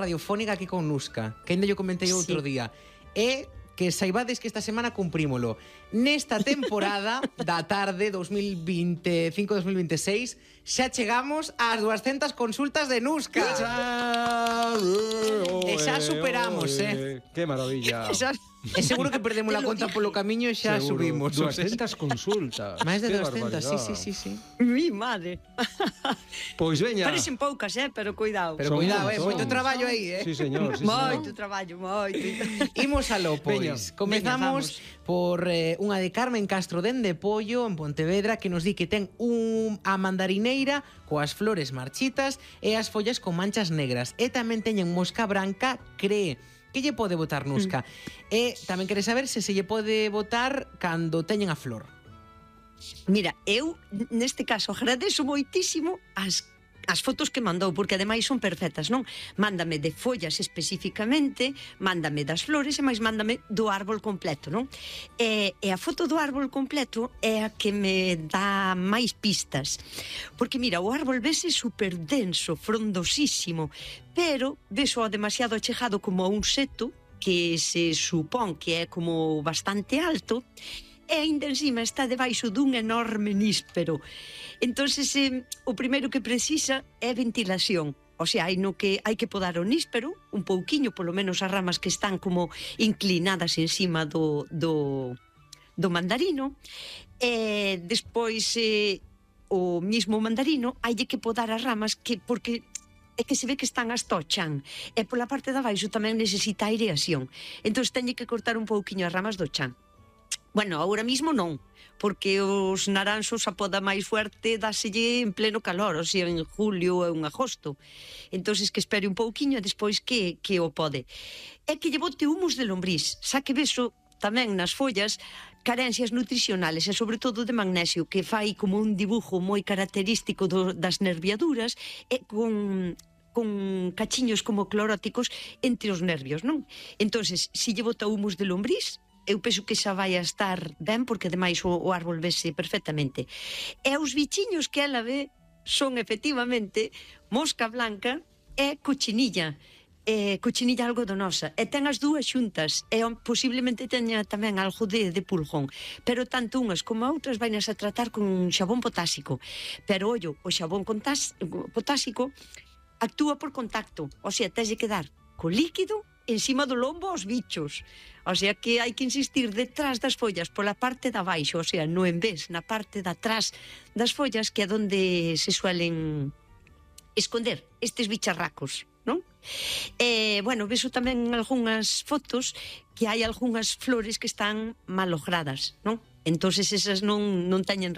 radiofónica aquí con Nuska, que ainda yo comentei outro día. E que saibades que esta semana cumprímolo. Nesta temporada da tarde 2025-2026 xa chegamos ás 200 consultas de Nuska. E xa superamos, Que maravilla. E seguro que perdemos la conta polo camiño e xa subimos. 200 consultas. Máis de 200, sí. Mi madre. Pois veña. Parecen poucas, pero cuidado. Pero cuidado, moito traballo aí, Sí, señor. Moito traballo, moito. Imos aló, pois. Comezamos por unha de Carmen Castro dende Pollo, en Pontevedra, que nos di que ten a mandarineira coas flores marchitas e as follas con manchas negras. E tamén teñen mosca branca, cree que lle pode botar Nuska. E tamén quere saber se lle pode botar cando teñen a flor. Mira, eu neste caso agradezo moitísimo as fotos que mandou, porque ademais son perfectas, non? Mándame de follas especificamente, mándame das flores e máis mándame do árbol completo, non? E a foto do árbol completo é a que me dá máis pistas. Porque mira, o árbol vese super denso, frondosísimo, pero veso demasiado achegado como a un seto que se supón que é como bastante alto, e ainda encima está debaixo dun enorme níspero. Entonces, o primeiro que precisa é ventilación. O sea, hai que podar o níspero un pouquiño, polo menos as ramas que están como inclinadas encima do mandarino. E despois, o mismo mandarino, hai que podar as ramas porque é que se ve que están as tochan, e pola parte de abaixo tamén necesita aireación. Entón, teñe que cortar un pouquiño as ramas do chan. Bueno, ahora mismo non, porque os naranxos a poda máis fuerte dáselle en pleno calor, o sea, en julio ou en agosto. Entonces que espere un pouquiño e despois que o pode. É que lle bote humus de lombriz, xa que vexo tamén nas follas carencias nutricionales e sobre todo de magnesio, que fai como un dibujo moi característico das nerviaduras e con cachiños como cloróticos entre os nervios, non? Entonces, se lle bota humus de lombriz, eu penso que xa vai a estar ben, porque ademais o árbol vese perfectamente. E os bichiños que ela ve son efectivamente mosca blanca e cochinilla. Cochinilla algodonosa. E ten as dúas xuntas. E posiblemente teña tamén algo de pulgón. Pero tanto unhas como outras vainas a tratar con xabón potásico. Pero, ollo, o xabón potásico actúa por contacto. O sea, tens de quedar co líquido encima do lombo aos bichos. O sea que hai que insistir detrás das follas, pola parte da baixo, o sea, no en vez, na parte de atrás das follas, que é onde se suelen esconder estes bicharracos, non? Bueno, veso tamén algunhas fotos que hai algunhas flores que están malogradas, non? Entonces esas non teñen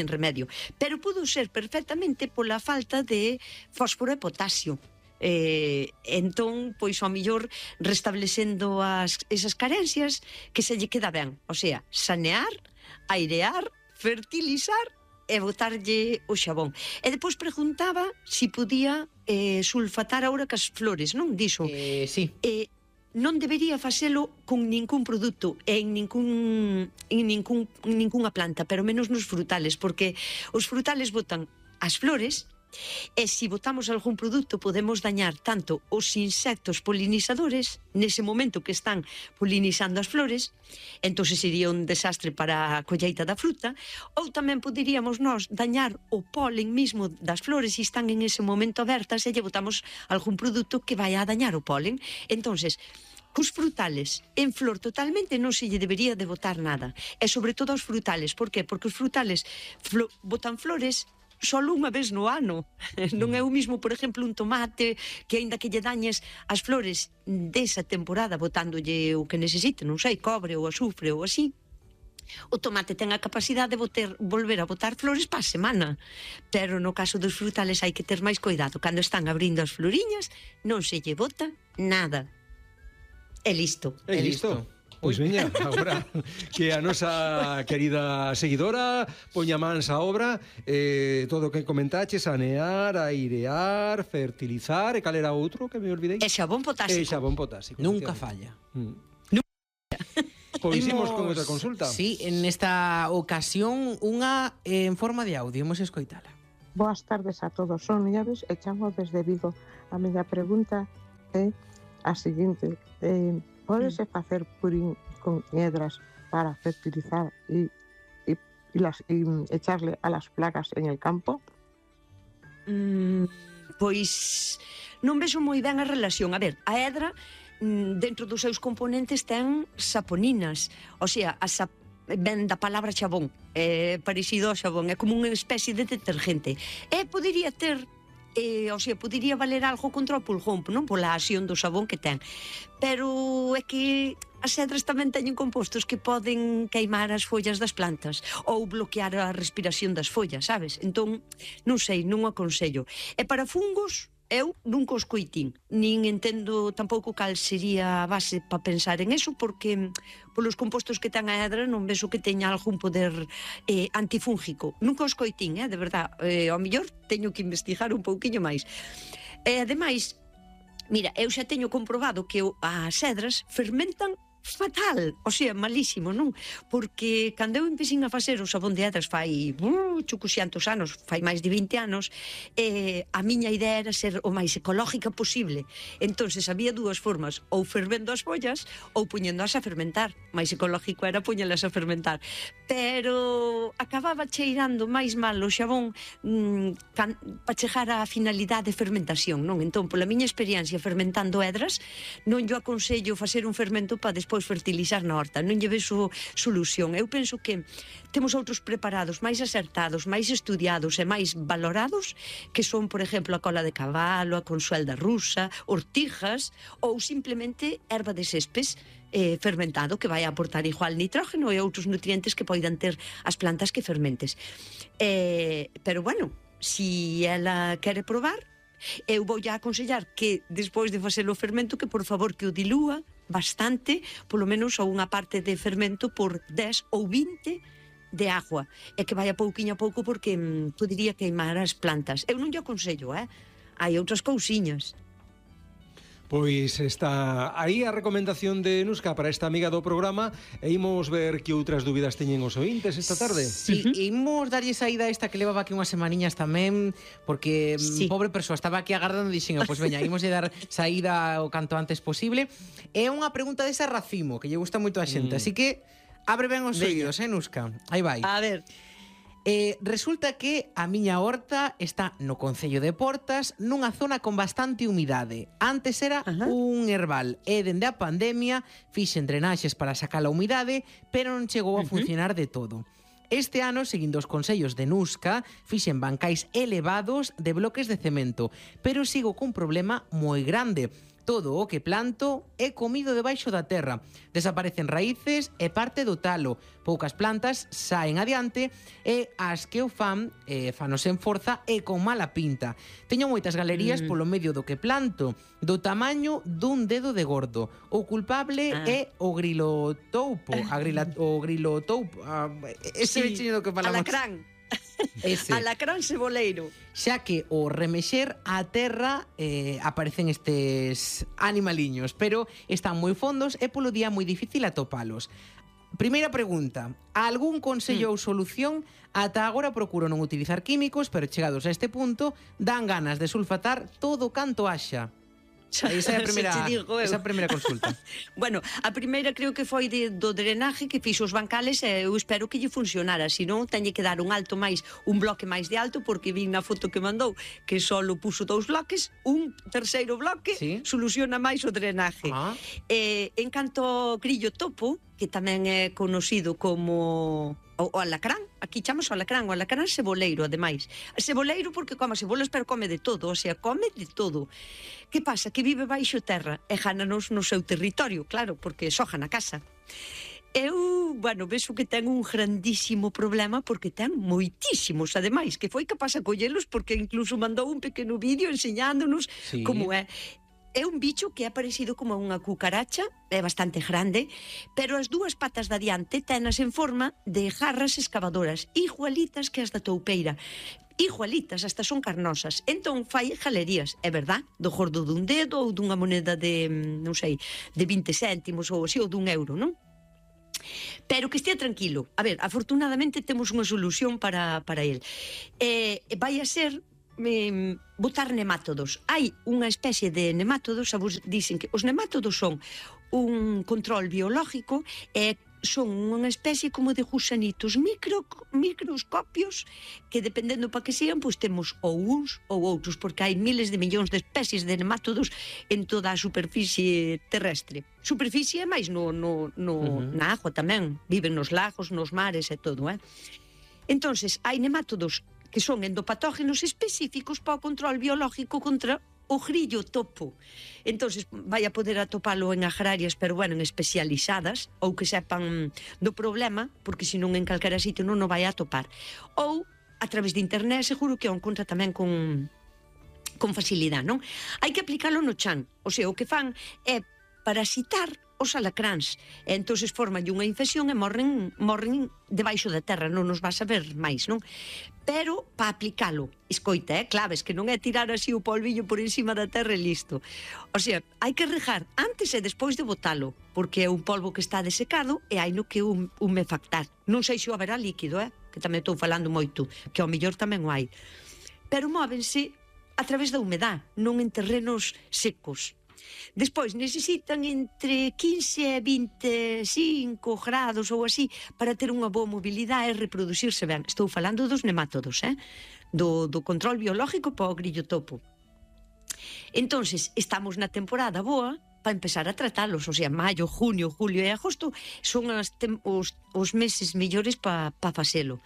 remedio. Pero pudo ser perfectamente pola falta de fósforo e potasio. Entón, pois ao millor restablecendo esas carencias, que se lle queda ben, o sea, sanear, airear, fertilizar e botarlle o xabón. E depois preguntaba se podía sulfatar agora cas flores, non? Dixo. Sí. Non debería facelo con ningún produto e en ninguna planta, pero menos nos frutales, porque os frutales botan as flores. E se botamos algún produto podemos dañar tanto os insectos polinizadores nese momento que están polinizando as flores, entón sería un desastre para a colleita da fruta, ou tamén poderíamos nós dañar o polen mismo das flores se están en ese momento abertas e lle botamos algún produto que vai a dañar o polen. Entonces, cos frutales en flor totalmente non se lle debería de botar nada, e sobre todo aos frutales. Por qué? Porque os frutales botan flores só unha vez no ano. Non é o mismo, por exemplo, un tomate, que aínda que lle dañes as flores desa temporada botándolle o que necesite, non sei, cobre ou azufre ou así, o tomate ten a capacidade de volver a botar flores para a semana. Pero no caso dos frutales hai que ter máis cuidado. Cando están abrindo as floriñas, non se lle bota nada. E listo. E listo. Pois veña, agora que a nosa querida seguidora poña mans á obra, todo o que comentache, sanear, airear, fertilizar, e cal era outro que me olvidei? E xabón potásico. E xabón potásico. Nunca falla. Pois imos con outra consulta. Sí, en esta ocasión unha en forma de audio, imos escoitala. Boas tardes a todos, son Nieves e chamo desde Vigo. A miña pregunta é a seguinte: pódese facer purín con hiedras para fertilizar y echarle a las plagas en el campo? Pois non vexo moi ben a relación. A ver, a hedra dentro dos seus componentes ten saponinas, o sea, ben da palabra xabón, é parecido ao xabón, é como unha especie de detergente. E podería ter, o sea, podería valer algo contra o pulgón, non pola acción do xabón que ten. Pero é que as hedras tamén teñen compostos que poden queimar as follas das plantas ou bloquear a respiración das follas, sabes? Entón, non sei, non o aconsello. E para fungos, eu nunca os coitín, nin entendo tampouco cal sería a base para pensar en eso, porque polos compostos que ten a hedra non vexo que teña algún poder antifúngico. Nunca os coitín, de verdad. Ao mellor teño que investigar un pouquiño máis. E ademais, mira, eu xa teño comprobado que as hedras fermentan fatal, o sea, malísimo, non? Porque cando eu empecín a facer o sabón de hedras fai chucuxiantos anos, fai máis de 20 anos, a miña idea era ser o máis ecológica posible. Entonces había dúas formas, ou fervendo as follas ou poñéndoas a fermentar. Máis ecológico era poñelas a fermentar. Pero acababa cheirando máis mal o xabón para chegar á finalidade de fermentación, non? Entón, pola miña experiencia fermentando hedras, non yo aconsello facer un fermento para despois fertilizar na horta, non lle vexo solución. Eu penso que temos outros preparados máis acertados, máis estudiados e máis valorados, que son, por exemplo, a cola de cabalo, a consuelda rusa, ortijas ou simplemente erva de céspes fermentado, que vai aportar igual nitrógeno e outros nutrientes que poidan ter as plantas que fermentes. Pero bueno, si ela quere probar, eu vou a aconsellar que despois de facer o fermento que por favor que o dilúa bastante, polo menos a unha parte de fermento por 10 ou 20 de agua, e que vai a pouquiño a pouco porque podería queimar as plantas. Eu non lle aconsello, hai outras cousiñas. Pois está aí a recomendación de Nuska para esta amiga do programa, e imos ver que outras dúbidas teñen os ointes esta tarde. Sí, imos darlle saída a esta que levaba aquí unhas semaniñas tamén, porque pobre persoa estaba aquí agardando e dixen, pois veña, imos lle dar saída o canto antes posible. É unha pregunta desa racimo, que lle gusta moito a xente, así que abre ben os oídos, Nuska? Aí vai. A ver. Resulta que a miña horta está no concello de Portas, nunha zona con bastante humidade. Antes era un herbal e dende a pandemia fixen drenaxes para sacar a humidade, pero non chegou a funcionar de todo. Este ano, seguindo os consellos de Nuska, fixen bancais elevados de bloques de cemento, pero sigo cun problema moi grande. Todo o que planto é comido debaixo da terra. Desaparecen raíces e parte do talo. Poucas plantas saen adiante e as que o fan, fanos en forza e con mala pinta. Teño moitas galerías polo medio do que planto, do tamaño dun dedo de gordo. O culpable é o grilotoupo. O grilotoupo. Ese bichiño do que falamos. Alacrán. Ese. Alacrán ceboleiro. Xa que o remexer a terra aparecen estes animaliños, pero están moi fondos e polo día moi difícil atopalos. Primeira pregunta, algún consello ou solución? Ata agora procuro non utilizar químicos, pero chegados a este punto dan ganas de sulfatar todo canto haxa. Esa é a primeira consulta. Bueno, a primeira creo que foi do drenaje que fixo os bancales e eu espero que lle funcionara, senón teñe que dar un bloque máis de alto, porque vi na foto que mandou que só puso 2 bloques, un terceiro bloque soluciona máis o drenaje. En canto ao grillo topo, que tamén é conocido como o alacrán, aquí chamamos o alacrán ceboleiro, ademais. Ceboleiro porque come cebolas, pero come de todo, o sea, come de todo. Que pasa? Que vive baixo terra e jánanos no seu territorio, claro, porque soja na casa. Eu, vexo que ten un grandísimo problema porque ten moitísimos, ademais, que foi capaz a collelos porque incluso mandou un pequeno vídeo enseñándonos como é. É un bicho que é parecido como unha cucaracha, é bastante grande, pero as dúas patas de adiante tenas en forma de garras excavadoras, igualitas que as da toupeira. Igualitas, hasta son carnosas. Entón fai galerías, é verdad, do gordo dun dedo ou dunha moneda de, non sei, de 20 céntimos ou así, ou dun euro, non? Pero que estea tranquilo. A ver, afortunadamente temos unha solución para el. Vai a ser botar nemátodos. Hai unha especie de nemátodos, a vos dicen que os nemátodos son un control biológico e son unha especie como de gusanitos microscopios que dependendo para que sean, pois temos ou uns ou outros, porque hai miles de millóns de especies de nemátodos en toda a superficie terrestre. Superficie é máis na agua tamén, viven nos lagos, nos mares e todo, Entonces, hai nemátodos que son endopatógenos específicos para o control biológico contra o grillo topo. Entonces vai a poder atopalo en agrarias, pero bueno, en especializadas, ou que sepan do problema, porque senón en calquera sitio non o vai a atopar. Ou a través de internet, seguro que o encontra tamén con facilidade, non? Hai que aplicalo no chan, o sea, o que fan é parasitar os alacráns, e entonces forman unha infección e morren debaixo da terra, non nos vas a ver máis, non? Pero, para aplicalo, escoita, claves, que non é tirar así o polvillo por encima da terra e listo. O sea, hai que regar antes e despois de botalo, porque é un polvo que está desecado e hai no que humefactar. Non sei se o haberá líquido, que tamén estou falando moito, que ao mellor tamén o hai. Pero móvense a través da humedad, non en terrenos secos. Despois necesitan entre 15 e 25 grados ou así para ter unha boa mobilidade e reproducirse ben. Estou falando dos nemátodos, do control biológico para o grillo topo. Entonces, estamos na temporada boa para empezar a tratalos, o sea, maio, junio, julio e agosto son os meses mellores para facelo.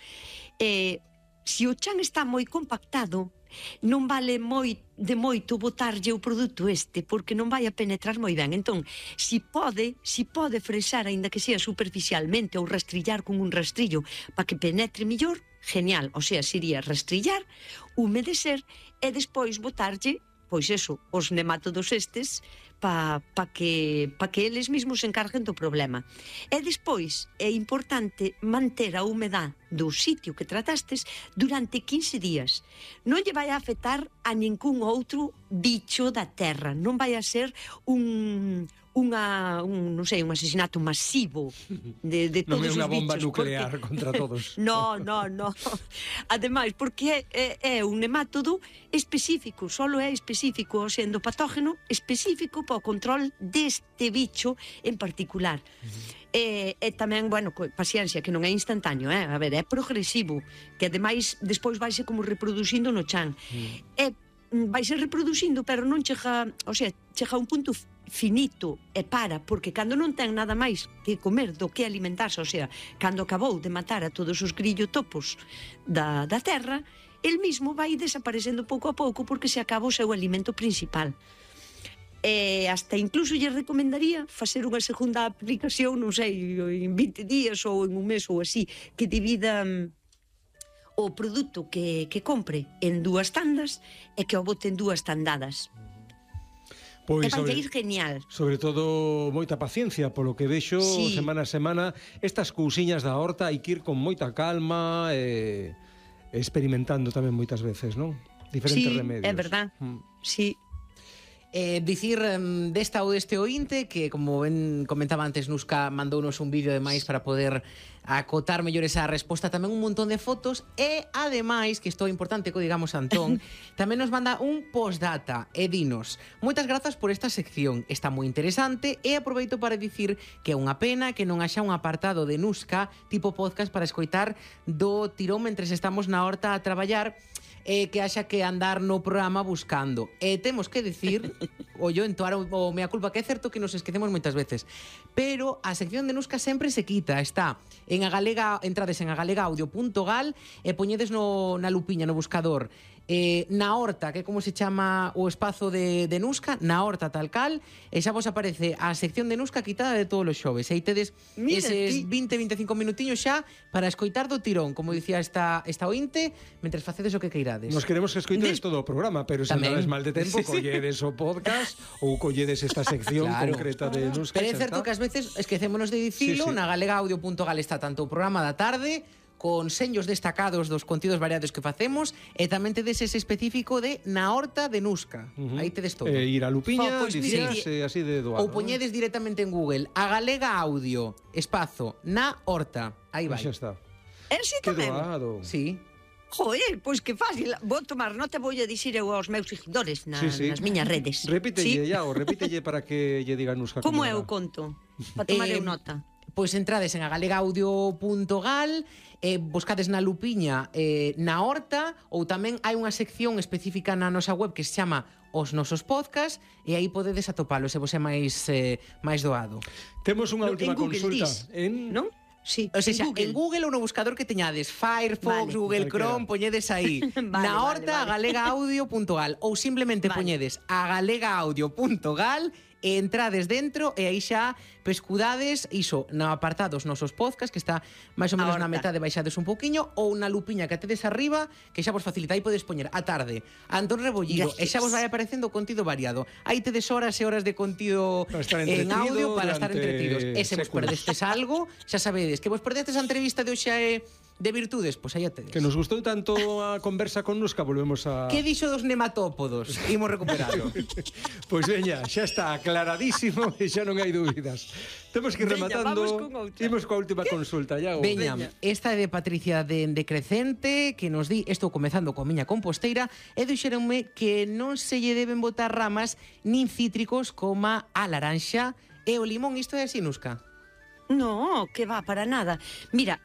Se o chan está moi compactado, non vale de moito botarlle o produto porque non vai a penetrar moi ben. Entón, si pode fresar, aínda que sea superficialmente, ou rastrillar con un rastrillo para que penetre mellor, genial. O sea, sería rastrillar, humedecer e despois botarlle, pois eso, os nemátodos para que eles mesmos se encarguen do problema. E despois é importante manter a humedad do sitio que tratastes durante 15 días. Non lle vai a afectar a ningún outro bicho da terra. Non vai a ser un asesinato masivo de todos os bichos. Non é unha bomba nuclear contra todos. No. Ademais, porque é un nemátodo específico, solo é específico, sendo patógeno específico para o control deste bicho en particular. E tamén, bueno, paciencia, que non é instantáneo, a ver, é progresivo, que ademais despois vaise como reproducindo no chan. Vaise reproducindo, pero non chega, o sea, chega a un punto finito e porque cando non ten nada máis que comer do que alimentarse, o sea, cando acabou de matar a todos os grillotopos da terra, el mismo vai desaparecendo pouco a pouco porque se acaba o seu alimento principal. E hasta incluso lle recomendaría facer unha segunda aplicación, non sei, en 20 días ou en un mes ou así, que divida o produto que compre en 2 tandas e que o bote en 2 tandadas. Pois vai ir genial. Sobre todo moita paciencia, polo que vexo semana a semana, estas cousiñas da horta hai que ir con moita calma e experimentando tamén moitas veces, non? Diferentes remedios. É verdad, sí. Dicir desta ou deste ointe que, como ben comentaba antes, Nuska mandounos un vídeo ademais para poder acotar mellor esa resposta, tamén un montón de fotos e, ademais, que isto é importante que o digamos Antón, tamén nos manda un postdata e dinos: moitas grazas por esta sección, está moi interesante, e aproveito para dicir que é unha pena que non haxa un apartado de Nuska tipo podcast para escoitar do tirón mentres estamos na horta a traballar, que haxa que andar no programa buscando. E temos que dicir, yo entoar o mea culpa, que é certo que nos esquecemos moitas veces, pero a sección de Nuska sempre se quita, está en entrades en agalegaudio.gal e poñedes na lupiña, no buscador, na horta, que é como se chama o espazo de Nuska, na horta tal cal, e xa vos aparece a sección de Nuska quitada de todos os xoves, e aí tedes eses 20-25 minutiños xa para escoitar do tirón, como dicía esta ointe, mentres facedes o que queirades. Nos queremos que escoitedes todo o programa, pero se andades mal de tempo, colledes o podcast ou colledes esta sección concreta de Nuska. Pero é certo que ás veces esquecémonos de dicilo, na galegaudio.gal está tanto o programa da tarde con seños destacados dos contidos variados que facemos, e tamén tedes ese específico de na horta de Nuska. Aí tedes todo. Ir a lupiña, dicirse así de doado. Ou poñedes directamente en Google a Galega Audio, espazo, na horta. Aí vai. Xa está. Sí, tamén. Doado. Sí. Joder, pois que fácil. Vou tomar nota, vou a dicir eu aos meus seguidores nas miñas redes. Repítelle, Iago, repítelle para que lle diga Nuska. Como é o conto? Para tomar eu nota. Pois entrades en agalegaudio.gal, buscades na lupiña na horta, ou tamén hai unha sección específica na nosa web que se chama Os Nosos Podcast, e aí podedes atopalo se vos é máis doado. Temos unha última consulta. Non? Sí, o sea, en Google ou no buscador que teñades Firefox, Google Chrome, poñedes aí na horta agalegaudio.gal ou simplemente poñedes agalegaudio.gal e entrades dentro e aí xa pescudades iso no apartado Os Nosos Podcast, que está máis ou menos na metade, baixades un poquinho, ou na lupiña que tedes arriba, que xa vos facilita, aí podes poñer a tarde Antón Rebollido, e xa vos vai aparecendo contido variado. Aí tedes horas e horas de contido en audio para estar entretidos. E se vos perdestes algo, xa sabedes que vos perdestes a entrevista de hoxe de virtudes, pois aí a tedes. Que nos gustou tanto a conversa con Nuska, volvemos a... Que dixo dos nematópodos? Imos recuperarlo. Pois veña, xa está aclaradísimo e xa non hai dúbidas. Temos que ir rematando. Imos coa última consulta, Iago. Veña, esta é de Patricia de Crecente, que nos di, estou comezando coa miña composteira, e dixeronme que non se lle deben botar ramas nin cítricos como a laranxa e o limón. Isto é así, Nuska? No, que va, para nada. Mira,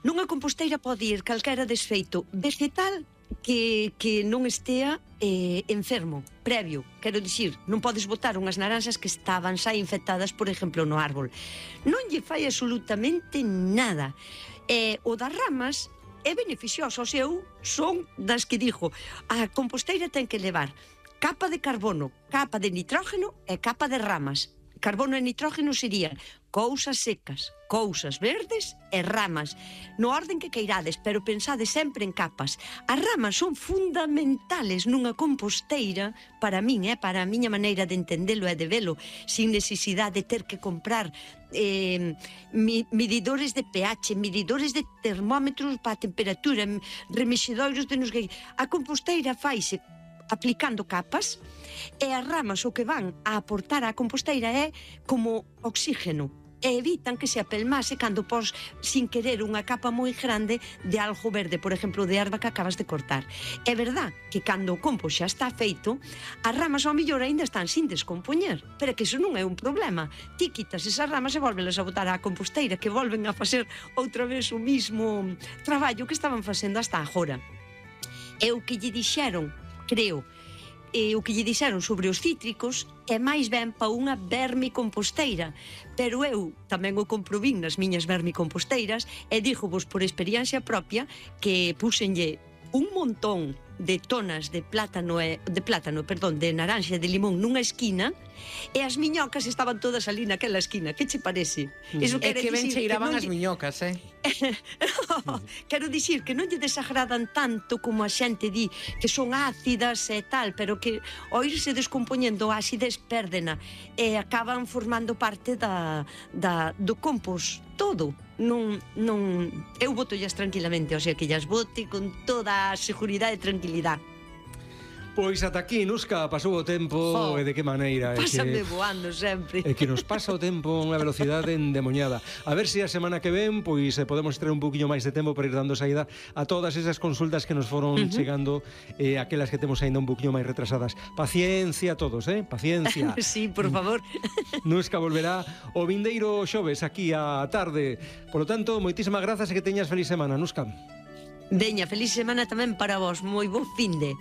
nunha composteira pode ir calquera desfeito vegetal que non estea enfermo, previo. Quero dicir, non podes botar unhas naranxas que estaban xa infectadas, por exemplo, no árbol. Non lle fai absolutamente nada. O das ramas é beneficioso. O seu son das que dixo, a composteira ten que levar capa de carbono, capa de nitrógeno e capa de ramas. Carbono e nitrógeno serían cousas secas, cousas verdes e ramas, no orden que queirades, pero pensade sempre en capas. As ramas son fundamentales nunha composteira, para min, para a miña maneira de entendelo e de velo, sin necesidade de ter que comprar medidores de pH, medidores de termómetros para a temperatura, remexedoiros de nos que... A composteira faise aplicando capas, e as ramas o que van a aportar á composteira é como oxígeno, e evitan que se apelmase cando pos sin querer unha capa moi grande de algo verde, por exemplo, de erva que acabas de cortar. É verdad que cando o compost xa está feito, as ramas ao mellor ainda están sin descompoñer, pero que iso non é un problema. Ti quitas esas ramas e volvelas a botar á composteira, que volven a facer outra vez o mismo traballo que estaban facendo hasta agora. E o que lle dixeron, creo, o que lle dixeron sobre os cítricos é máis ben pa unha vermicomposteira, pero eu tamén o comprovín nas miñas vermicomposteiras e díxovos por experiencia propia que puxenlle un montón de tonas de de naranxa e de limón nunha esquina e as miñocas estaban todas ali naquela esquina. Que che parece? Eso é que ben cheiraban as miñocas, Quero dicir que non lle desagradan tanto como a xente di que son ácidas e tal, pero que ao irse descompoñendo a acidez pérdena e acaban formando parte do compost todo. Eu botollas tranquilamente, o sea que llas bote con toda a seguridade e tranquilidade. Pois ata aquí, Nuska, pasou o tempo e de que maneira. Pásame voando sempre. É que nos pasa o tempo a unha velocidade endemoñada. A ver se a semana que ven pois podemos ter un poquinho máis de tempo para ir dando saída a todas esas consultas que nos foron chegando, aquelas que temos ainda un poquinho máis retrasadas. Paciencia a todos, paciencia. Sí, por favor. Nuska volverá o vindeiro xoves aquí á tarde. Por lo tanto, moitísimas grazas e que teñas feliz semana, Nuska. Veña, feliz semana tamén para vos. Moi bo finde.